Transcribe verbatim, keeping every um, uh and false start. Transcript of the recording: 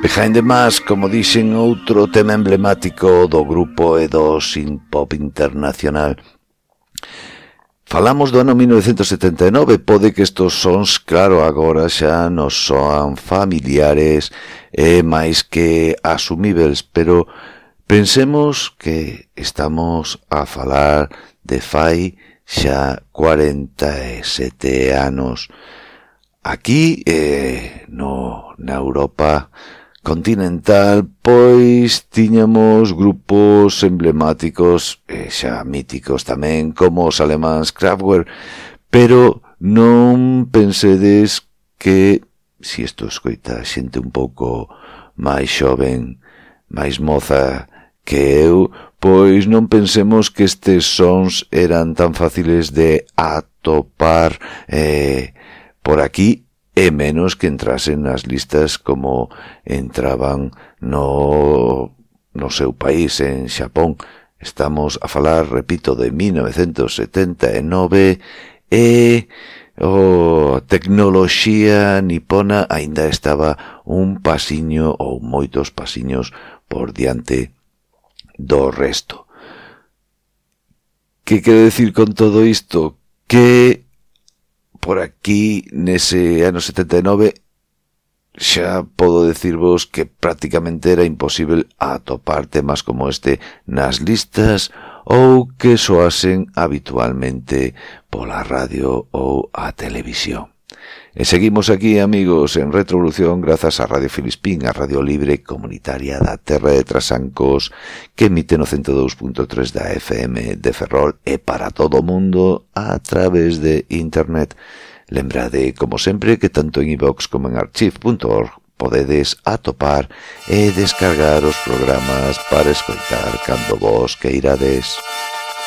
Behind the Mask, como dixen, outro tema emblemático do grupo e do synth-pop internacional. Falamos do ano mil novecentos setenta e nove, pode que estos sons, claro, agora xa nos soan familiares e máis que asumíveis, pero pensemos que estamos a falar de fai xa cuarenta e sete anos. Aquí, eh, no, na Europa continental, pois tiñamos grupos emblemáticos e xa míticos tamén, como os alemáns Kraftwerk, pero non pensedes que, si isto escoita xente un pouco máis xoven, máis moza que eu, pois non pensemos que estes sons eran tan fáciles de atopar eh, por aquí, e menos que entrasen nas listas como entraban no, no seu país, en Xapón. Estamos a falar, repito, de mil novecentos setenta e nove e a tecnoloxía nipona aínda estaba un pasiño ou moitos pasiños por diante do resto. Que quero decir con todo isto? Que por aquí, nese ano setenta e nove, xa podo decirvos que prácticamente era imposible atopar temas como este nas listas ou que soasen habitualmente pola radio ou a televisión. E seguimos aquí, amigos, en Retrovolución, grazas a Radio Filispín, a Radio Libre Comunitaria da Terra de Trasancos, que emite no ciento dous punto tres da F M de Ferrol e para todo o mundo a través de Internet. Lembrade, como sempre, que tanto en iVox como en archive punto org podedes atopar e descargar os programas para escoitar cando vos queirades.